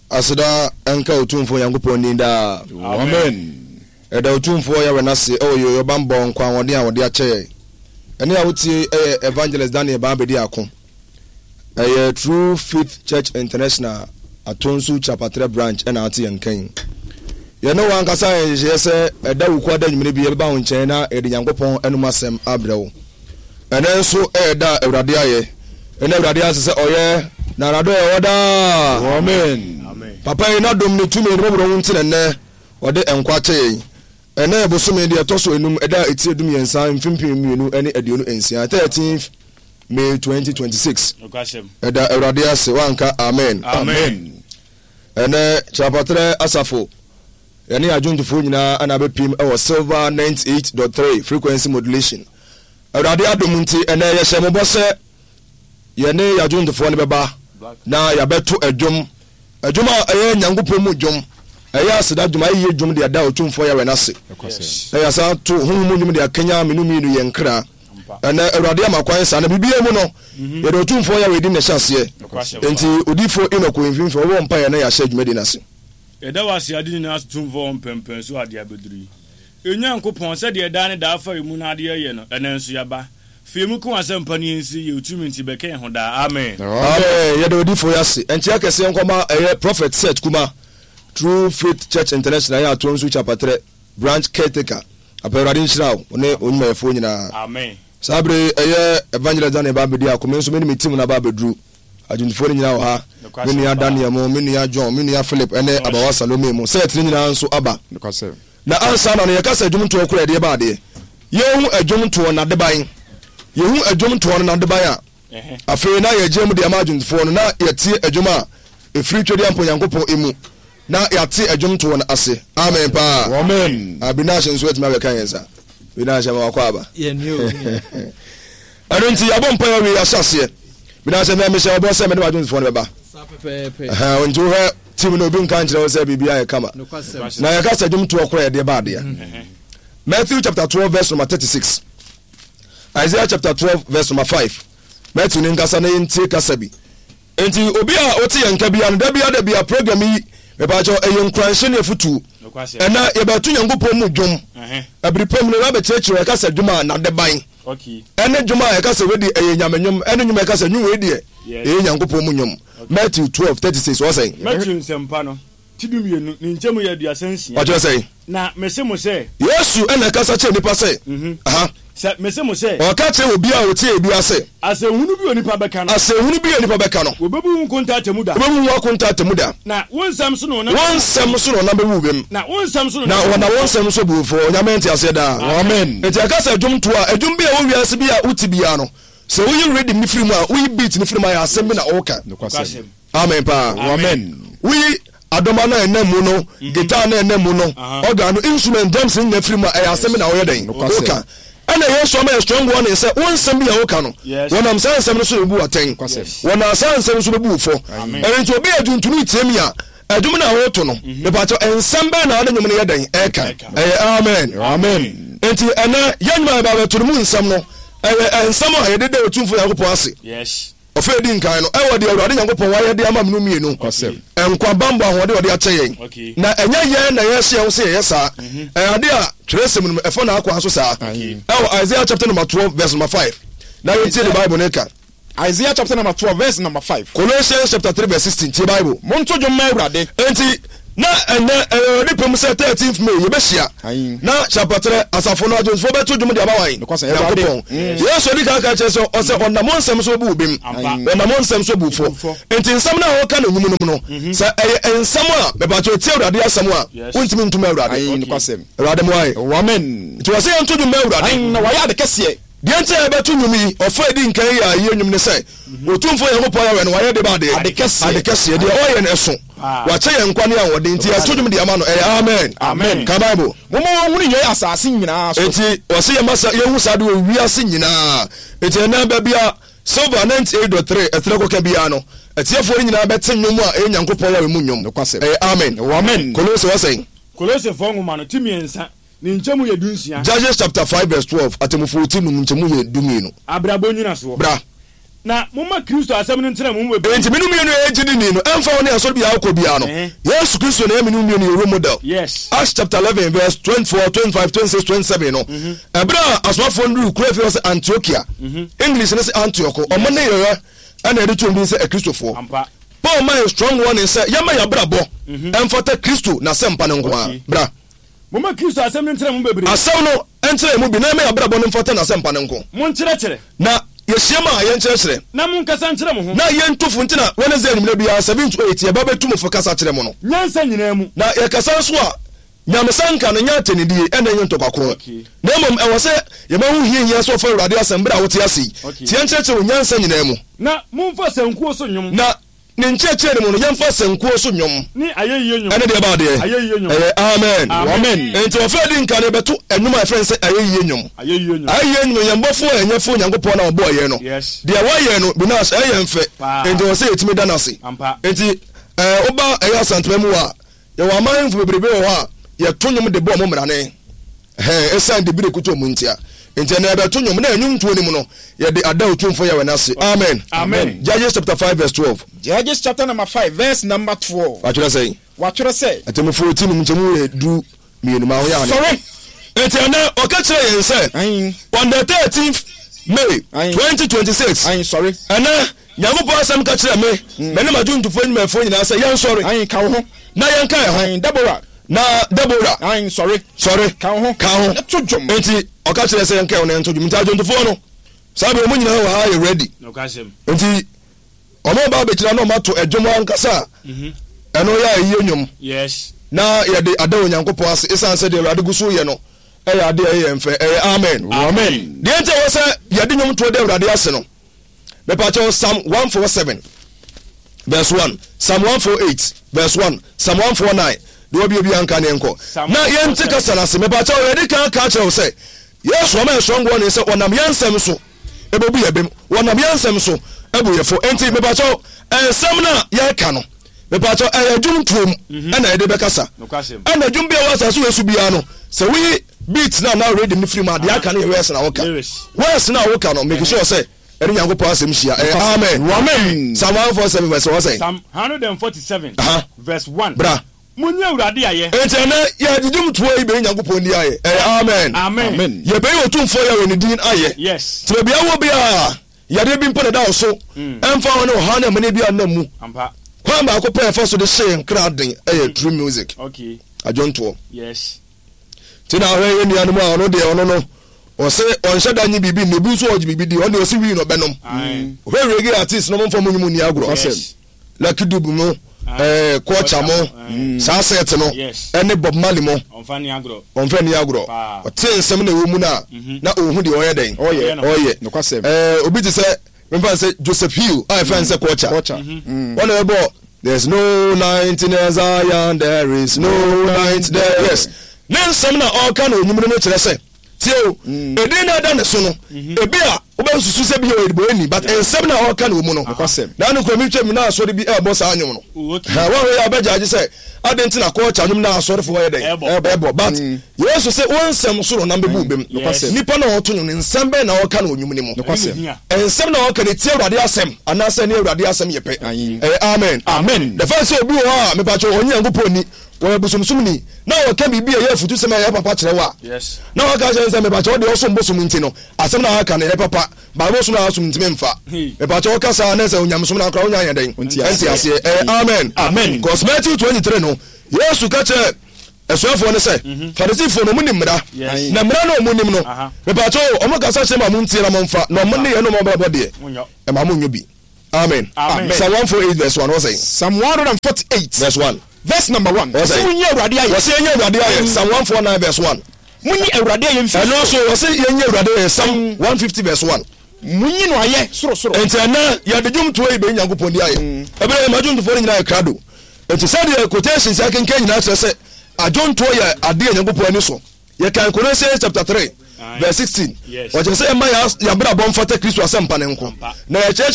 Aseda nka Otumfoɔ Nyankopɔn din daa. Amen. Yɛda Otumfoɔ Yahweh no ase wɔ yɛn bammɔ nkwa ahoɔden a ɔde akyɛ yɛn. Ɛnne a wotie yi yɛ Evangelist Daniel Baa Bediako. Ɛyɛ True Faith Church International Atonsu Kyapatrɛ Branch na ate yɛn nka yi. Yɛne wo ankasa ayɛ nhyehyɛeɛ sɛ ɛda Wukuada anwummere bi yɛbɛba wo nkyɛn na yɛde Nyankopɔn anom asɛm abrɛ wo. Ɛnnɛ nso yɛ da a Awurade ayɛ. Ɛnnɛ Awurade ase sɛ ɔyɛ na n'adɔeɛ wɔ hɔ daa. Amen. Papa yi n'adom ne tumi ne mmɔborɔhunu nti na ɛnnɛ ɔde nkwa akyɛ yɛn. Ɛnnɛ yɛ bosome deɛ ɛtɔ so enum ɛda a ɛti 13 mfe 2026, 13th May 2026. Ɛda Awurade ase wanka amen. Amen. Ɛnnɛ Kyerɛpatrɛ asafo yɛne adwontofoɔ nyinaa ana abɛpiem wɔ Silver 98.3 frequency modulation. Awurade adom nti ɛnnɛ yɛhyɛ mo bɔ sɛ yɛne yɛadwontofoɔ no bɛba na yɛabɛto ɛdwom, ɛdwom a ɛyɛ Nyankopɔn mu dwom, ɛyɛ aseda dwom, ayeyie dwom de ada Otumfoɔ Yahweh no ase, na yɛasan to honhom mu nnwom de akanya menu mmienu yɛn kra. Ɛnɛ Awurade ama kwan saa, na biribiara mu no, mhm. yɛde Otumfoɔ Yahweh din na ɛhyɛ aseɛ. Enti Odiyifoɔ Enoch wɔ mfimfini, ɔbɛbɔ mpaeɛ na yɛahyɛ dwumadi no ase. Yɛda wo ase ade nyinaa so Tumfoɔ wɔ mpɛmpɛn so ade abɛduru yi. Onyankopɔn, sɛdeɛ daa ne daa fa yɛn mu na adeɛ yɛ no, ɛnnɛ nso yɛaba. Fa yɛn mu ka w'asɛmpa no yɛnsie yɛ wo tumi nti bɛka yɛn ho daa. Amen. Amen yɛda odifoɔ yi ase. Nkyea kɛseɛ nkɔma ɛyɛ Prophet Seth Kuma True Faith Church International ɛyɛ Atonsu Kyapatrɛ Branch Caretaker Apa Awurade nhyira wo ne wo nnwumayɛfoɔ nyinaa. Amen. Saa bere yi ɛyɛ Evangelist Daniel ba abɛdi ako me nso me ne me team no aba abɛduru. Adwontofoɔ no nyinaa wɔ ha. Me nua Daniel mo, me nua John, me nua Philip ɛne Abawa Salome mo. Seth no nyinaa nso aba. Na ansa na no yɛka sɛ dwomtoɔ koraa ɛdeɛ ba adeɛ. Yɛhu ɛdwomtoɔ n'adeban. Yɛhu ɛdwomtoɔ no n'adeban a, afei na yɛgye mu de ama adwomtofoɔ no na yɛtie ɛdwom a ɛfiri Twedeampo Nyankopɔn mu na yɛate ɛdwomtoɔ no ase. Amen paa. Amen. Ah, Binash nso atumi abɛka yɛn nsa. Binash ama wakɔ aba. Ɛno nti yɛabɔ mpa yɛawie yɛahyɛ aseɛ. Binash mɛ mehyɛ ɔbɔ sɛ mene w'adwomtofoɔ no bɛba. Nti wohwɛ team no obi nka nkyerɛ wo sɛ biribi ayɛ kama. Na yɛka sɛ dwomtoɔ koraa yɛdeɛ ba adeɛ. Mm-hmm. Matthew chapter 12 verse number 36. Isaiah chapter 12 verse number 5. Matthew ne nkasa na yɛntie kasa bi. Nti obi a wote yɛn nka bia no da bia da bia program yi mepaakyɛw ɛyɛ nkuranhyɛ ne afutuo. Ɛnɛ yɛbɛto Nyankopɔn mu dwom. Ɛbere pam no na bɛkyerɛkyerɛ ɛka sɛ dwom a n'adeban. Ɛne dwom a ɛka sɛ wei deɛ ɛyɛ nyame nnwom ɛne nnwom a ɛka sɛ nnwom wei deɛ ɛyɛ Nyankopɔn mu nnwom. Matthew 12 36 ɔsɛn. Matthew nsɛmpa no ti 12 ne nkyɛmu yɛ 36. Ɔkyerɛ sɛn? Na mese mo sɛ. Yesu na ɛkasa kyerɛ nnipa sɛ, Aha. Sɛ mese mo sɛ. Ɔka kyerɛ obiara a ɔtie biara sɛ. Asɛnhunu bi a onipa bɛka no. Asɛnhunu bi a onipa bɛka no. Wɔbɛbu wo nkonta atemmuda. Wɔbɛbu wo akonta atemmuda. Na wo nsɛm so na wɔnam. Wo nsɛm so na wɔnam bɛbu wo bem. Na wo nsɛm so na wɔnam wo nsɛm so bu wo fɔ. Onyame nteaseɛ daa. Amen. Enti ɛka sɛ dwomtoɔ a, ɛdwom bi a ɛwɔ wiase bi a wote biara no, sɛ woyi rhythm no firi mu a, woyi beat no firi mu a, ɛyɛ asɛm bi na ɔreka. Nokwasɛm. Amen paa. Amen. Woyi adɔma no a ɛnam mu no, mhm. guitar no a ɛnam mu no, organ no, instrument, drums no nyinaa firi mu a, ɛyɛ asɛm bi na ɔyɛ dɛn? Woka. Ɛna Yesu ama yɛ strong warning sɛ wo nsɛm bi a woka no, wɔnam saa nsɛm no so na ebu atɛn. Wɔnam saa nsɛm no so bɛbu wo fɔ. Ɛno nti obi a dwontoni tie mi a, ɛdwom no a woto no, mhm. mepatɔ nsɛm bɛn na ade nwom no yɛ dɛn ɛka? Ɛyɛ amen. Amen. Nti ɛnɛ yɛn nnwuma a yɛba abɛto no mu nsɛm no, ɛyɛ nsɛm a yɛde da Otumfoɔ Nyankopɔn ase. Ɔfã a edi nkan no, ɛwɔ deɛ Awurade Nyankopɔn wayɛ de ama menu mmienu, nkwa, bammɔ, ahoɔden a ɔde akyɛ yɛn. Na ɛnyɛ yɛn na yɛhyɛ yɛn ho sɛ yɛyɛ saa. Mhm. Ɛyɛ ade a twerɛsɛm no mu ɛfa n'akwan so saa. Ɛwɔ Isaiah chapter number 12 verse number 5. Na yɛntie ne Bible no ka. Isaiah chapter number 12 verse number 5. Colossians chapter 3 verse 16. Tie Bible. Monto dwom ma Awurade. Enti na ɛnɛ ɛyɛ Awurade pɛ mu sɛ 13th May yɛbɛhyia na Kyapatrɛ asafo no adwontofoɔ bɛto dwom de ama wan? Nyankopɔn. Mm. Yesu adi kan ka kyerɛ sɛ ɔsɛ mm. ɔnam nsɛm so bu bem, ɔnam nsɛm so bu fɔ. Enti nsɛm no a wɔka no nwom no mu no, mm-hmm. sɛ ɛyɛ nsɛm a mepatɛ tie Awurade asɛm a, wontumi ntom Awurade. Awurade mmoa yɛ. Amen. Nti wɔsɛ yɛnto dwom ma Awurade. Na wɔayɛ ade kɛseɛ. Deɛ nti a yɛbɛto nnwom yi, ɔfa a ɛdi nkan yi a ɛyɛ nnwom ne sɛ, Otumfoɔ Nyankopɔn Yahweh no, wayɛ de ba adeɛ? Ade kɛseɛ. Ade kɛseɛ. Deɛ ɔyɛ no ɛso. Wakyɛ yɛn nkwa ne ahoɔden, nti yɛto dwom de ama no. Ɛyɛ amen. Amen. Ka Bible. Momma wɔnhunu yei asase nyinaa so. Enti, wɔse yɛma sa, yɛhu saa ade wɔ wiase nyinaa. Enti ɛnnɛ, baabi a Silver 98.3 ɛtrɛ kɔka biara no, atiefoɔ no nyinaa bɛte nnwom a ɛyɛ Nyankopɔn Yahweh mu nnwom. Nokwasɛm. Ɛyɛ amen. Amen. Kolose, wɔsɛn? Kolosefoɔ nwoma no, ti mmiɛnsa, Ne nkyɛmu yɛ dunsia. Judges chapter 5 verse 12, Atemmufoɔ ti num nkyɛmu yɛ 12. Abrabɔ nnyinasoɔ. Bra. Na momma Kristo asɛm no ntena mo mu bebree. Enti me ne wo mmienu a yɛyɛ gyidini no, ɛmfa ho ne asɔre biara a wokɔ biara no, Yesu Kristo na ɛyɛ me ne wo mmienu yɛn role model. Acts chapter 11 verse 24, 25, 26, 27 no, ɛberɛ a asomafoɔ no duruu kuro a ɛfiri hɔ sɛ Antiokia, English no se Antioch, wɔn ne yɛyɛ ɛna yɛde to wɔn din sɛ Akristofoɔ. Paul ma yɛn strong warning sɛ yɛmma yɛn abrabɔ ɛmfata Kristo n'asɛmpa no nko ara. Bra. Momma Kristo asɛm no ntena mo mu bebree. Asɛm no ntena yɛn mu bi na yɛmma yɛn abrabɔ no mfata n'asɛmpa no nko. Monkyerɛkyerɛ. Na yɛhyiam a, yɛnkyerɛkyerɛ. Na monkasa nkyerɛ mo ho. Na yɛntu fo nti na Wednesday anwummerɛ biara 7 to 8 yɛba bɛtu mo fo kasa kyerɛ mo no. Nyansa nyinaa mu. Na yɛkasa nso a, nyamesanka no nyɛ atɛnnidie ɛna ɛnyɛ ntɔkwa ko. Na mmom ɛwɔ sɛ yɛma ho hia hia sɛ wɔfa Awurade asɛm berɛ a wote ase yi. Nti yɛnkyerɛkyerɛ wɔ nyansa nyinaa mu. Na momfa sankuo so nnwom. Na Ne nkyerɛkyerɛ no mu no, yɛmfa sankuo so nnwom. Ne ayɛyie nnwom. Ɛne deɛ ɛba adeɛ. Ayɛyie nnwom. Ɛyɛ amen. Amen. Enti ɔfɛ di nka no yɛbɛto nnwom a yɛfrɛ no sɛ ayɛyie nnwom. Ayɛyie nnwom. Ayɛyie nnwom, yɛn bɔfoɔ a ɛnyɛ Onyankopɔn na ɔbɔɔ yɛn no. Yes. Deɛ wayɛ no, Binas, ɛyɛ yɛn fɛ. Paa. Enti ɛwɔ sɛ yɛtumi da no ase. Ampa. Enti ɛɛ woba ɛyɛ Asantema mu a, yɛwɔ aman ahemfo bebrebe wɔ hɔ a yɛto nnwom de bɔ wɔn mmrane. Ɛhɛn, esiane dibere kutu ɔmo ntia. Nti ɛnɛ yɛbɛto nnwom, na nnwomtoɔ no mu no, yɛde ada Otumfoɔ Yahweh no ase. Amen. Amen. Judges chapter 5 verse 12. Judges chapter number 5 verse number 12. Watwerɛ sɛn? Watwerɛ sɛ. Atemmufoɔ ti num nkyɛmu yɛ 12 ma ho yɛ ane. Sɔre! Nti ɛnɛ ɔka kyerɛ yɛn sɛ, Ayin. on the 13th May Ayin. 2026, Ayin, sɔre. ɛnɛ Nyankopɔn asɛm ka kyerɛ me, me ne m'adwontofoɔ nnwumayɛfoɔ nyinaa sɛ yɛnsɔre. Ayin, ka wo ho. Na yɛnka yɛn ho. Ayin, Deborah. Na Deborah. Ayin, sɔre. Sɔre. Ka wo ho. Ka ho. Na to dwom. Enti ɔka kyerɛ sɛ yɛnka yɛn ho na yɛnto dwom. Nti adwontofoɔ no, saa bere wɔn nyinaa wɔ ha yɛ ready. Nti wɔn ba abɛgyina na wɔn ato ɛdwom ankasa a mhm. ɛno yɛ ayie nnwom. Yes. Na yɛde ada Onyankopɔn ase esan sɛ deɛ Awurade gu so yɛ no ɛyɛ ade a ɛyɛ yɛn fɛ. Ɛyɛ amen. Amen. Deɛ nti ɛwɔ sɛ yɛde nnwom toɔ de Awurade ase no. Mepakyɛw Psalm 147 verse 1, Psalm 148 verse 1, Psalm 149 deɛ ɔbea bi anka ne nkɔ na yɛnte kasa no ase. Mepakyɛw yɛde kan ka kyerɛ wo sɛ Yesu ama yɛ strong warning sɛ wɔnam yɛn nsɛm so ɛbɛbu yɛ bem, wɔnam yɛn nsɛm so ɛbu yɛ fo. Enti mepakyɛw nsɛm no a yɛka no mepakyɛw ɛyɛ dwom tuom mhm. ɛna yɛde bɛkasa ɛna dwom bi a wɔ asase wɔ so biara no sɛ woyi beat na na rhythm no firi mu a deɛ aka no yɛ verse na woka verse na woka no make sure sɛ ɛne Nyankopɔn asɛm hyia. Ɛyɛ amen. Amen. Psalm 147 verse 1 sɛn? Psalm 147 verse 1. Bra. Munyi Awurade ayɛ. Enti ɛnɛ yɛde dwomtoɔ yi bɛyi Nyankopɔn din ayɛ. Ɛyɛ amen. Amen. Yɛbɛyi Otumfoɔ Yahweh ne din ayɛ. Yes. Nti baabi a wɔ biara yadeɛ bi mpo na ɛda wo so mm. ɛmfa ho ne ɔhaw ne amane bi a nam mu. Kwan baako pɛ ɛfa so de hyɛ yɛn kra den ɛyɛ true music. Okay. Adwontoɔ. Yes. Nti na ahwɛ yɛn nuanom a ɔno deɛ ɔno no ɔse ɔnhyɛ da nye biribi nni obi nso ɔgye biribi di ɔno deɛ ɔse wii na ɔbɛnom hwɛ reggae artist no momfa mo nwom nni agorɔ Lucky Dube mo ɛɛ Culture mo saa set no ɛne Bob Marley mo ɔmfa nni agorɔ ɔte nsɛm na ɛwɔ mu no a na ɔhu deɛ ɔyɛ dɛn ɔyɛ ɛɛ obi te sɛ Memfa no sɛ Joseph Hill a yɛfrɛ no sɛ Culture. Culture. Wɔn na ɛbɔ There's no night in Zion, there is no night there. Yes. Ne nsɛm na ɔreka no onyim no no kyerɛ sɛ tie o, edin na ɛda ne so no, ebi a wobɛsusu sɛ bi yɛ ɔyɛdebɔni, but nsɛm na ɔreka no wɔ mu no. Nokwasɛm. Na ano kura mi twam na asɔre bi ɛrebɔ saa nnwom no. Okay. Wɔn a wɔyɛ abɛgya agye sɛ adɛn nti na culture nnwom na asɔrefoɔ yɛ dɛn? Ɛbɔ. But Yesu se wo nsɛm so na ɔnam bɛbu wo bem. Nokwasɛm. Nipa na ɔto nnwom no, nsɛm bɛn na ɔreka no wɔ nnwom no mu? Nokwasɛm. Nsɛm na ɔka no etia Awurade asɛm anaasɛ ɛne Awurade asɛm yɛ pɛ? Ɛyɛ amen. Amen. The fact sɛ obi wɔ hɔ a mepakyɛw ɔnye Nyankopɔn nni, ɔyɛ bosomsomni, na ɔka biribi a ɛyɛ afutusɛm a ɛyɛ papa kyerɛ wo a, na waka akyerɛ no sɛ mepakyɛw deɛ ɔsom bosom nti no, asɛm na aka no ɛyɛ papa, but bosom na asom ntumi mfa. Mepakyɛw ɔka saa na sɛ onyamesom no akora wonya anyɛ dɛn? Ɛnte aseɛ. Ɛyɛ amen. Amen. Cause Matthew 23 no, Yesu ka kyerɛɛ Asuafoɔ no sɛ, Farisifoɔ no, wɔnim mmara, na mmara no a wɔnim no, mepaakyɛw o, wɔkasa kyerɛ mo a montie na momfa, na wɔn nneyɛɛ ne wɔn abrabɔ deɛ, ɛma monyɛ bi. Amen. Psalm 148 verse 1, wɔsɛn? Psalm 148 verse 1. Verse number 1. Wɔsɛn? Wɔsɛ munyi Awurade ayɛ. Wɔsɛ yɛnyɛ Awurade ayɛ. Psalm 149 verse 1. Munyi Awurade ayɛ mfiri Ɛno nso wɔsɛ yɛnyɛ Awurade ayɛ. Psalm 150 verse 1. Munyi no ayɛ sorosoro. Enti ɛnɛ yɛde dwomtoɔ yi bɛyi Nyankopɔn di ayɛ. Ɛberɛ yɛ ma dwomtofoɔ no nyinaa yɛ krado. Enti sɛdeɛ quotations yi akenkan nyinaa kyerɛ sɛ adwontoɔ yɛ adeɛ a Nyankopɔn ani sɔ. Yɛkan Colossians chapter 3 verse 16. Ɔkyerɛ sɛ yɛmma yɛn abrabɔ mfata Kristo asɛmpa no nko, na yɛkyerɛkyerɛ.